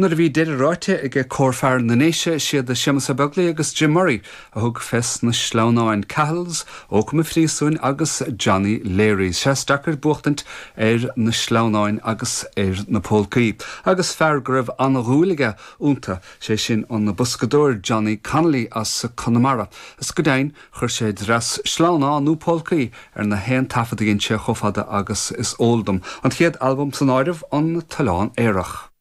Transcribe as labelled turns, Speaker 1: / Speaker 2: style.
Speaker 1: Nuair a bhí deireadh ráite ag Cór Fear na nDéise, siad Séamus Ó Beaglaoich agus Jim Murray a thug fes na sleamhnáin, Cahill's, Ócam an Phríosúin agus Johnny Leary's. Sea, is deacair buachtaint ar na sleamhnáin agus ar na pólcaí. Agus fear go raibh an-dhúil aige iontu, sé sin an boscadóir Johnny Connolly as Conamara. Is go deimhin, chuir sé dreas sleamhnán nó polcaí ar na haon taifead a dhein sé chomh fada agus is eol dom, an chéad albam san áireamh, An tOileán Aerach.